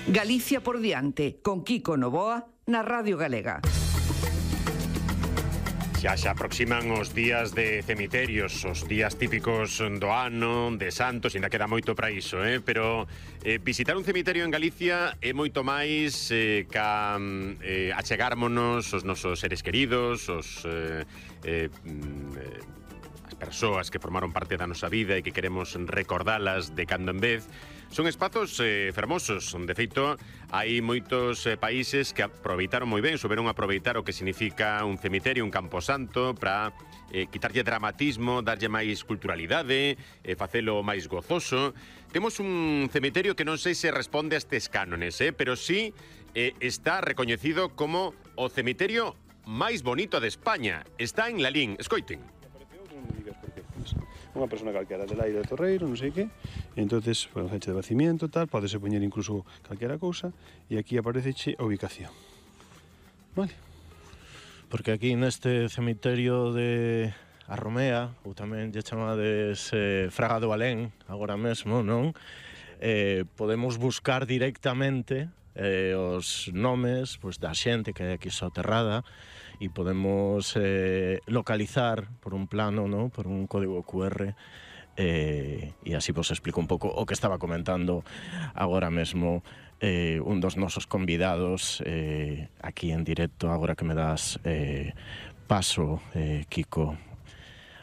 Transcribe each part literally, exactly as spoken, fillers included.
Galicia por diante, con Kiko Novoa, na Radio Galega. Xa se aproximan os días de cemiterios, os días típicos do ano, de santos, ainda queda moito para iso, eh? pero eh, visitar un cemiterio en Galicia é moito máis eh, ca eh, achegármonos os nosos seres queridos, os eh, eh, as persoas que formaron parte da nosa vida e que queremos recordalas de cando en vez. Son espazos eh, fermosos. De feito, hai moitos eh, países que aproveitaron moi ben, souberon aproveitar o que significa un cemiterio, un camposanto, para eh, quitarlle dramatismo, darlle máis culturalidade, eh, facelo máis gozoso. Temos un cemiterio que non sei se responde a estes cánones, eh, pero sí eh, está recoñecido como o cemiterio máis bonito de España. Está en Lalín. Escoiten. Unha persona calquera del aire de Torreiro, non sei que, e entonces, pues, fecha de bacimiento, tal, podese poñer incluso calquera cousa, e aquí apareceche a ubicación. Vale? Porque aquí neste cemiterio de a Romea, ou tamén lle chamades eh, Fraga do Alén, agora mesmo, non? Eh, podemos buscar directamente eh, os nomes pues, da xente que hai aquí soterrada, e podemos eh, localizar por un plano, ¿no? Por un código cu erre, eh, e así vos explico un pouco o que estaba comentando agora mesmo eh, un dos nosos convidados eh, aquí en directo, agora que me das eh, paso, eh, Kiko.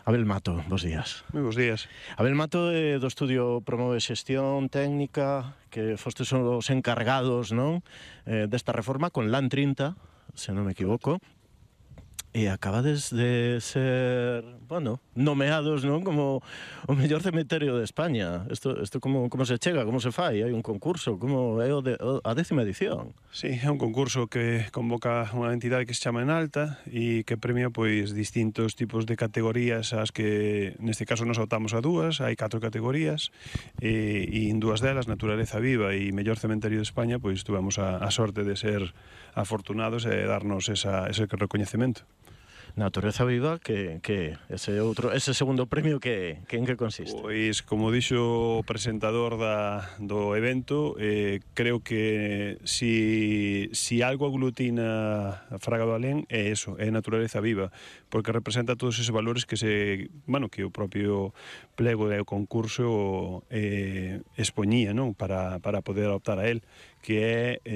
Abel Mato, bos días. Moi bos días. Abel Mato é do estudio Promove Xestión Técnica, que fostes os encargados, non? Eh, desta reforma con LAN trinta, se non me equivoco. E acabades de ser, bueno, nomeados, non, como o mellor cemiterio de España. Isto, isto como, como se chega, como se fai? Hai un concurso, como é o de, o, a décima edición? Sí, é un concurso que convoca unha entidade que se chama Enalta e que premia, pois, distintos tipos de categorías, as que, neste caso, nos optamos a dúas, hai catro categorías, e, e en dúas delas, Naturaleza Viva e Mellor Cementerio de España, pois, tuvemos a, a sorte de ser afortunados e darnos esa, ese recoñecemento. Natureza Viva, que, que ese outro, ese segundo premio que, que en que consiste? Pois, como dixo o presentador da, do evento, eh, creo que si, si algo aglutina a Fraga do Alén é eso, é Naturaleza Viva, porque representa todos esos valores que se, bueno, que o propio plego e o concurso eh, expoñía, non? Para, para poder optar a él, que é